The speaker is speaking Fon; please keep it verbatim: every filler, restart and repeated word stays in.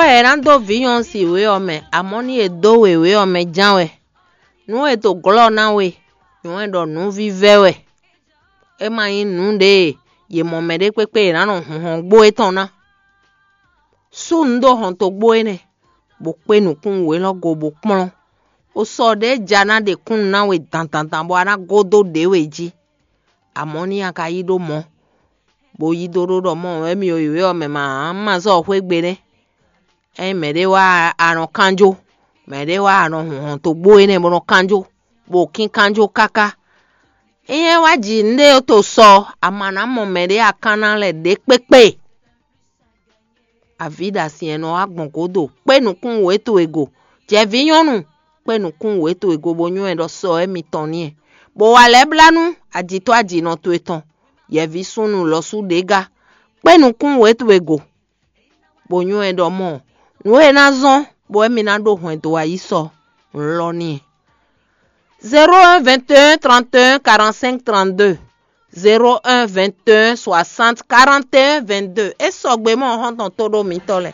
È nǎ dó vǐ nyɔ̌nu si wě ɔ́ mɛ, amɔ̌ ní è dó wěwé ɔ́ mɛ ján wɛ. Nǔ e è to glɔ́ ná we, nyɔ̌nu e ɖɔ nǔvívɛ́ wɛ. É ma nyí nǔ ɖě e yě mɔ mɛɖé kpékpé è nǎ nɔ hunhɔn gbó étɔn ná. Sú nǔ dó hɔntogbó énɛ́, bó kpé nǔkún wělɔ́ go bó kplɔ́n. Xo sɔ ɖě ja ná ɖe kúnnu ná we dandandan bɔ a ná gó dó ɖě we jí. Amɔ̌ ní a ka yí ɖó mɔ̌, bó yí dó ɖó ɖɔ mɔ wɛ mì o yi wě ɔ́ mɛ ma ǎ, un ma zɔ́ xwé gbe nɛ́. Ényí mɛɖé wá a nɔ kánjó, mɛɖé wá a nɔ hɔn togbó énɛ́ bó nɔ kánjó, bó kínkanjó káká. Ényí é wá ji nǔɖé to sɔ, a ma ná mɔ mɛɖé a kán ná lɛ́ ɖě kpékpé. Avǐ ɖo asin e nɔ wá gbɔn gǒdo, kpé nǔkún wě towe go. Jɛ vǐ nyɔ́nu, kpé nǔkún wě towe go bó nywɛ́ ɖɔ sɔ émítɔn n'i. Bó wa lɛ́ blá nú ajǐtɔ́ ajǐnɔ towe tɔn, yɛ̌ví súnnu lɔ̌ sú ɖě gá. Kpé nǔkún wě towe go, bó nywɛ́ ɖɔ mɔ nǔ e ná zɔ́n bɔ émí ná ɖó hwɛndo ayisɔ lɔ n'i. Zéro un vingt et un trente et un quarante-cinq trente-deux, zéro un vingt et un soixante quarante et un vingt-deux. É sɔgbe mɔ xɔ́ntɔn tó ɖó mitɔ́ lɛ́ɛ.